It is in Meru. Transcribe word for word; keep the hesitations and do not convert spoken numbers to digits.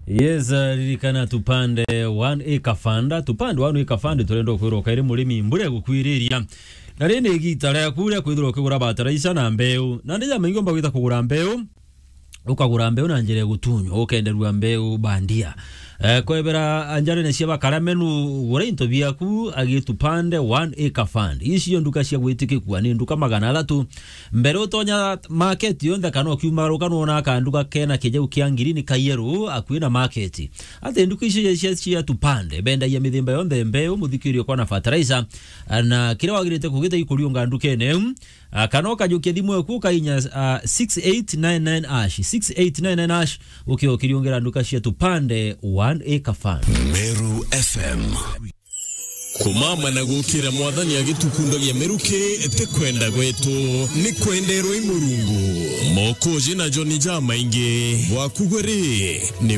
Yes, uh, ririkana Tupande One Acre Fund. Tupande One Acre Fund turenda kwirwa kairi murimi mbure gukwiriria. Na riri ni igita riaku ria kwithirwa ukigura bataraica na mbeu. Na ndi jamaingi umba gwita kugura mbeu, ukagura mbeu na njira ya gutunywa, ukenderua mbeu bandia. Eh, kwebera njarene cia bakara menu, gura into biaku agi Tupande One Acre Fund. Ici cio nduka cia gwitikikua ni nduka magana athatu. Mbere utonya market yonthe kana ukiuma ruka nuona kanduka kena kijau kia ngirini ka yellow akui na market. Ati nduka ici cia, cia Tupande bendagia mithemba yonthe mbeu, muthikirio kwa na fertilizer, na kiria wagirite kugita ikuriunga ndukene iu. Ah, kana ukajukia thimu eku ukainya, ah, six eight nine nine hash, six eight nine nine hash, ukiokiriungira nduka cia Tupande One Acre Fund. Meru F M. Kumama na gukira Mwathani agitukundagia miruki ti kwenda gwetu, ni kwenderwa i Murungu. Mokoji na John Jamaingi, gwaku gwe ri, ni